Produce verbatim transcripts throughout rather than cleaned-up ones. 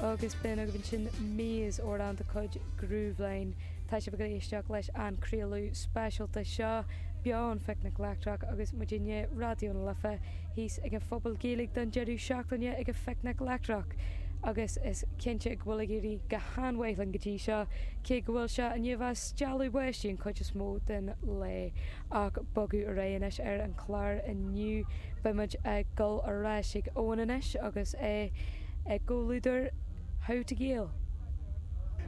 Agus b'in agaibh ansin Maze, amhrán de chuid Grooveline. Tá sibh ag éisteacht leis an craoladh speisialta seo beo ón Phicnic Leictreach agus muidinne, Raidió na Life, thíos ag an Phuball Gaeilge don deireadh seachtaine ag an Phicnic Leictreach. Agus is cinnte go bhfuil ag éirí go han-mhaith linn go dtí seo, cé go bhfuil sé i ndiaidh a bheith ag stealladh báistí an chuid is mó den lae. Ach bogadh ar aghaidh anois ar an chlár inniu, beidh muid ag dul ar ais ag Eoin anois agus é i gcomhluadar How to Gael.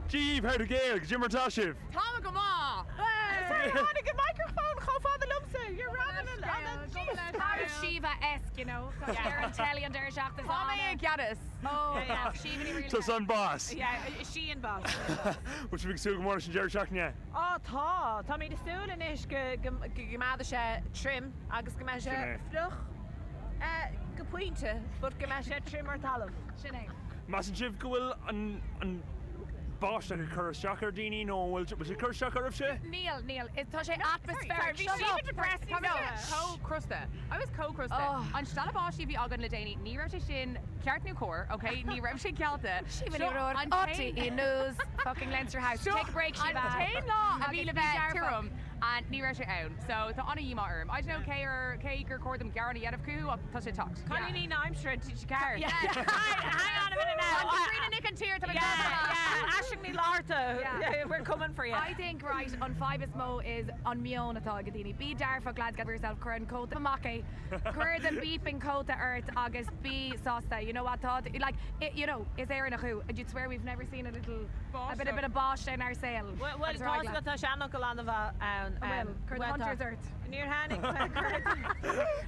Dia daoibh How to Gael, goidé mar tá sibh? Tá go maith! Tháinig an microphone chomh fada liomsa, you're rather than Síomha-esque, you know, ar an telly an deireadh seachtaine. Tá mé i gceannas. Oh, yeah, Síomha ní Tusa an boss. Yeah, sí an boss. Bhfuil sibh ag súil go mór leis an deireadh seachtaine? Á tá, Táimid ag súil anois go go mbeidh sé tirim agus go mbeidh sé Sin é. fliuch eh, go pointe, but go mbeidh sé tirim ar talamh. Sin é. Measann sibh go bhfuil an an báisteach ag cur isteach ar daoine nó bhfuil bhfuil sé cur isteach oraibhse? Níl, níl, tá sé atmospheric. Bhí sí depressed. Tá mé chomh crosta. I was chomh crosta. An stealladh báistí a bhí againn le déanaí, ní raibh sé sin ceart nó cóir, okay? Ní raibh sé cealta. Síomha Ní Ruairc, RTÉ News, fucking Leinster House. Take a break, An Síomha. t-aon lá a bhí le bheith Agus tirim and ní raibh sé ann. So tá an-dhíomá orm. I don't know cé ar cé gur chóir dom gearán a dhéanamh chucu ach tá sé teacht. Cailíní na haimsire car. Yeah. Hang on a minute now. An Katrina Nic an tír tá Yeah, yeah. Aisling Ní Fhlatharta. Yeah. We're coming for you. I think right an fadhb is mó is an meon atá ag daoine. Bí dearfach lads get yourself cuir an cóta amach é. Cuir the beeping cóta ort agus bí sásta. You know what tá like it, you know is Éireannach thú and you'd swear we've never seen a little a bit a bit of báistí in our saol. Well, well, Agus tá rá tá seanfhocal an-mhaith ann. Bhfuil, cuir the hunters ort. Níor tháinig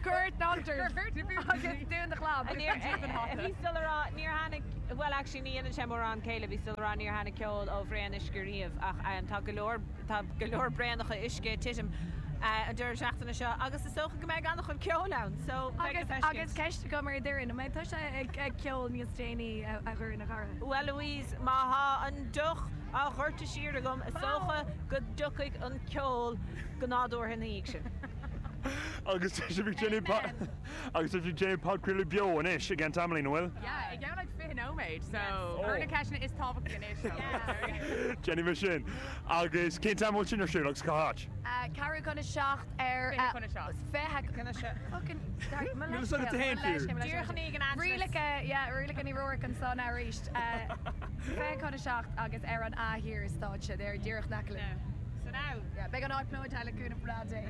Cuir the hunters agus dún do chlab. Bhí still rá níor tháinig well actually ní dhéanann sé mórán céille bhí still rá níor tháinig ceol ó bhraon uisce riamh ach um, tá go leor tá go leor braonacha uisce titim uh, an deireadh seachtaine seo agus is dócha go mbeidh an-chuid ceoil ann so beidh Agus le feiscint. agus ceist agam ar Doireann, an mbeidh tusa ag ag ceol níos déanaí a a Dhoireann a chara. Well Louise má thá an deoch á dhoirteadh siar agam is dócha go dtiocfaidh an ceol go nádúrtha ina dhiaidh sin. Agus tá sibh ag déanamh agus tá sibh ag déanamh podchraoladh beo anois ag an tamaillín, an bhfuil? Yeah, i gceann like fiche nóiméad, so cuir na ceisteanna is tábhachtaí anois. Déanfaidh mé sin. Agus cén t-am bhfuil sin ar siúl agus cá háit? Ceathrú chun a seacht ar Fiche chun a seacht. Fiche Chun a seacht. Fucking sorry, mo Níl a fhios agat leithscéal, féin mo leithscéal, fiú. mo leithscéal. Díreach i ndiaidh an Angelus. Rialacha, yeah, rialacha Ní Ruairc ansan arís. Fiche chun a seacht agus ar an A Thiar stáitse, ar díreach in aice linn. So now. Yeah, beidh an áit plódaithe le cúnamh breá Dé.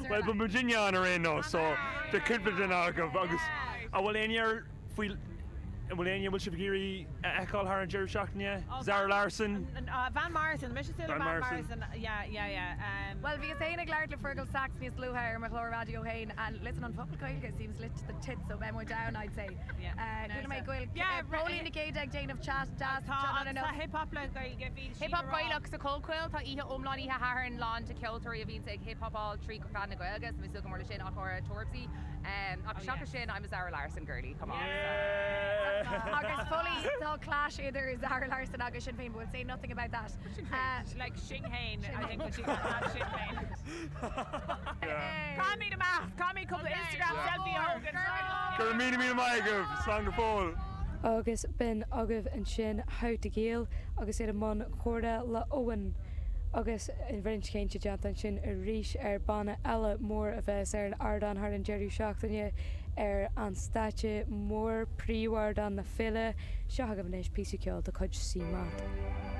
Well beidh muidinne ann ar aon nós, so beidh cúpla duine agaibh agus an bhfuil éinne ar faoi an bhfuil éinne bhfuil sibh ag iarraidh a fheiceáil thar an deireadh seachtaine? Zara Larsson? Uh, Van Morrison, mise Van Van Morrison. Morrison. Yeah, yeah, yeah. Um, Well, bhí féin ag labhairt le Fergal Sachs níos luaithe ar mo chlár raidió féin and listen an focal Gaeilge seems lit to the tits so beidh muid down I'd say. Yeah. Uh, Chuala mé go bhfuil Yeah, Póilín Nic Géadaigh ag déanamh chat deas Tá an tá hip hop le Gaeilge bhí Hip hop Gaelach sa Chollchoill tá oíche iomlán oíche Shathairn lán de ceoltóirí a bhíonn ag hip hopáil trí Chlann na Gaeilge, so mé go mór le sin ach ára Torpsy. Um, ach Oh, seachas yeah. sin I'm a Zara Larsson girly, come on. Yeah. Agus fully tá clash idir Zara Larsson agus Sinn Féin, but we'll say nothing about that. Uh, like Sinn Féin, I think what she not Sinn Féin. Yeah. Caithfimid amach, caithfimid cúpla Instagram Yeah. selfie a thógáil. Go raibh míle míle maith agaibh, slán go fóill. Agus b'in agaibh ansin How to Gael agus ar a mbun comhrá le Owen agus roinnt cainte déanta ansin arís ar banna eile mór a bheas ar an ardán thar an deireadh seachtaine ar an stáitse mór príomhardán na féile seo agaibh anois píosa ceoil de chuid CMAT.